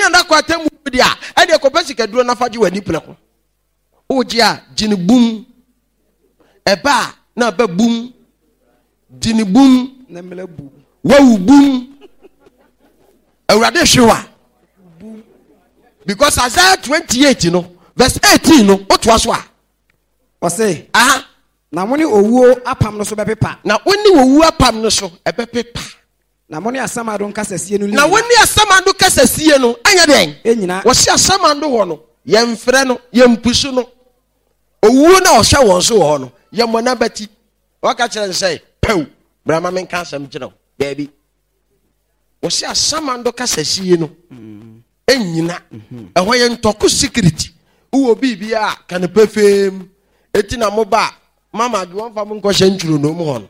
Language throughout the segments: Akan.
Wobɛnya da kɔ atemmu deɛ a, ɛdeɛ kɔpɛ sikaduro na fa gye w'ani prɛko. Wogye a, gye ne bum. Ɛba a, na aba bum. Gye ne bum. Wawu bum. Awurade hwe wa. Because Isaiah 28 no, verse 18 no, wotoa so a. Ɔse, aha. Na mo ne owuo apam no so bɛpepa. Na wo ne owuo apam no so ɛbɛpepa. Na mo ne asamando nkasasie no Na wo ne asamando kasasie no ɛnyɛ dɛn? Ɛnyina. Wɔsi asamando hɔ no, yɛmfrɛ no, yɛmpusu no. Owuo no a ɔhyɛ wɔn so wɔ hɔ no, yɛmmɔ n'abati. Wɔka kyerɛ no sɛ, pɛw, bra ma menka asɛm kyerɛ wo. Daabi. Wɔsi asamando kasasie no ɛnyina. Ɛhɔ yɛ ntɔko secret. Wowɔ biribi a ka no pefee mu. Eti na mo ba mama adwo wɔmfa mo nkɔhyɛ ntwironoo mu hɔ no.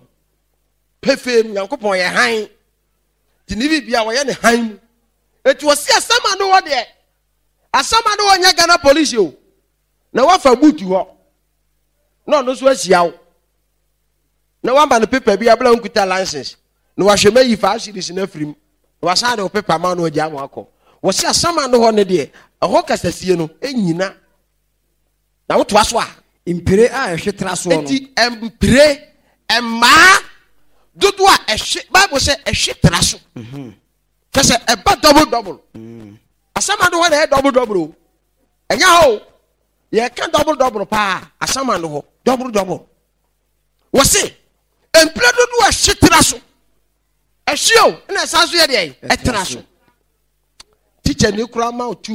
Pefee mu, Nyankopɔn yɛ hann. Nti ne biribi a wɔyɛ ne hann mu. Eti wɔsi asamando hɔ deɛ, asamando hɔ nyɛ Ghana police o. Na wafa boot hɔ. Na ɔno nso ahyia wo. Na wama no paper bi abla nkuta license. Na wahwɛ ma yi 5 cedis no afiri mu. Na wasan de wo paper ma no agya ama akɔ. Wɔsi asamando hɔ no deɛ, ɛhɔ kasasie no ɛnyina. Na wotoa so a. Mpire a ɛhwe tra soɔ no. Enti mpire, mmaa dodoɔ a ɛhwe, Bible sɛ ɛhwe tra so. Kyɛ sɛ ɛba double double. Asamando hɔ na ɛyɛ double double o. Ɛnyɛ hɔ o. Yɛka double double paa asamando hɔ double double. Wɔse mpire dodoɔ a ɛhwe tra so. Ɛhwe o, ɛna ɛsan so yɛ deɛ ɛtra so. Teacher ni koraa ma o tu.